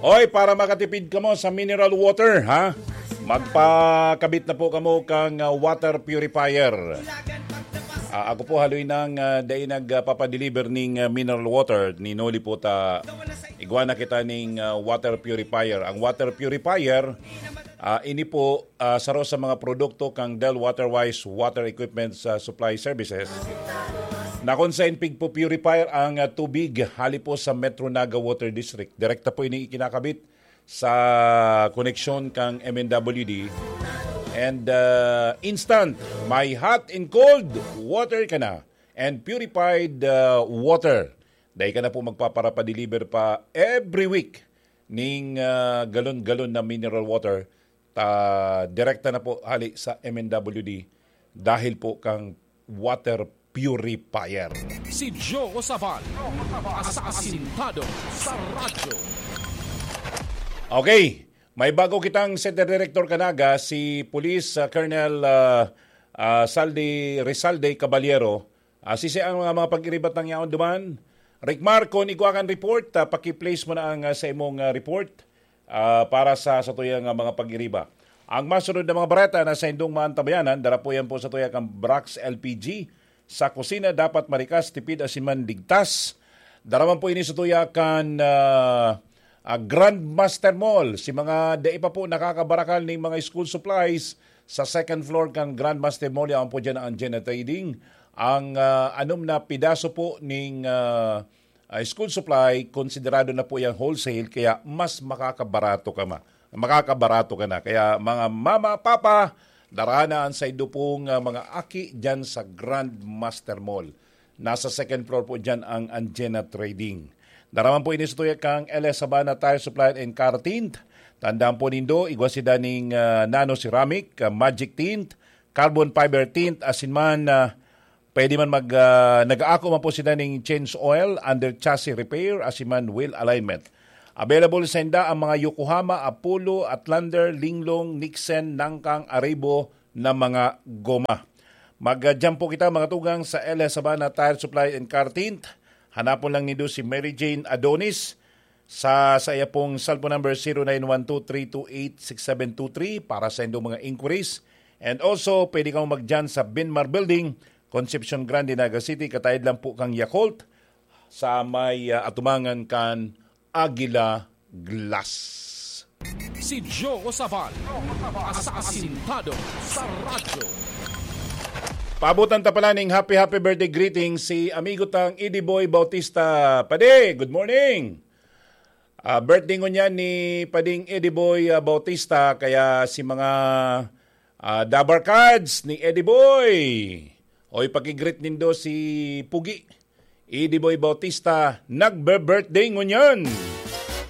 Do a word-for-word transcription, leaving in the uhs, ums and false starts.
Oy, para makatipid kamo sa mineral water, ha? Magpakabit na po kamo kang, ah, water purifier. Ah, ako po, haloy nang, ah, dai nagpapadeliver ning, ah, mineral water. Ninuli po ta, igwa na kita ning, ah, water purifier. Ang water purifier, ah, ini po, ah, saro sa mga produkto kang Del Waterwise Water Equipment sa Supply Services, na kung saan pigpo-purifier ang, ah, tubig hali po sa Metro Naga Water District. Direkta po ini ikinakabit sa koneksyon kang M N W D. And, ah, instant, may hot and cold water ka na and purified, ah, water. Dai ka na po magpaparapadeliver pa every week ning, ah, galon-galon na mineral water. Ta, direkta na po hali sa M N W D dahil po kang water purifier. Si Joe Sabal, asasintado sa radyo. Okay, may bago kitang Center Director kanaga, si Police, ah, Colonel, ah, ah, Saldi, Rizalde Caballero. Ah, sisi ang mga, mga pag-iribat ng yaon duman. Rick Mar, kung igwa kan report, ah, paki-place mo na ang, ah, sa imong, ah, report, ah, para sa, sa tuyang, ah, mga pag-iriba. Ang masunod na mga bareta na sa indong maantabayanan, dara po yan po sa tuya kan Brax L P G. Sa kusina, dapat marikas, tipid, asin man ligtas. Dara man po ini sa tuya kan, ah, ah, Grandmaster Mall. Si mga dai pa po nakakabarakal ning mga school supplies, sa second floor kan Grandmaster Mall, yaon po dyan ang Anjena Trading. Ang, ah, anom na pidaso po ning, ah, ah, school supply, konsiderado na po yang wholesale, kaya mas makakabarato ka ma-, makakabarato ka na. Kaya mga mama, papa, dara na ang saindo pong, ah, mga aki dyan sa Grandmaster Mall. Nasa second floor po dyan ang Anjena Trading. Dara man po ini sa tuya kang L S Sabana Tire Supply and Car Tint. Tandaan po nindo, igwa sila ning, ah, nano ceramic, ah, magic tint, carbon fiber tint, asin man, ah, pwede man mag, ah, nag-aako man po sila ning change oil, under chassis repair, asin man wheel alignment. Available sa inda ang mga Yokohama, Apollo, Outlander, Linglong, Nixon, Nangkang, Arribo na mga goma. Mag-, ah, jam po kita, mga tugang, sa L S Sabana Tire Supply and Car Tint. Hanapon lang nindo si Mary Jane Adonis sa, sa iya pong cellphone number, zero nine one two three two eight six seven two three, para sa indong mga inquiries. And also, pwede kang magdyan sa Binmar Building, Concepcion Grande, Naga City. Kataid lang po kang Yakult sa may, ah, atumangan kan Aguila Glass. Si Joe Sabal, asasintado sa radyo. Paabutan ta pala ning happy, happy birthday greeting si amigo tang Eddie Boy Bautista. Padi, good morning! Ah, birthday ngunyan ni Pading Eddie Boy, ah, Bautista, kaya si mga, ah, dabarkads ni Eddie Boy, oy, paki-greet nindo si Pugi. Eddie Boy Bautista, nagbe-birthday ngunyan.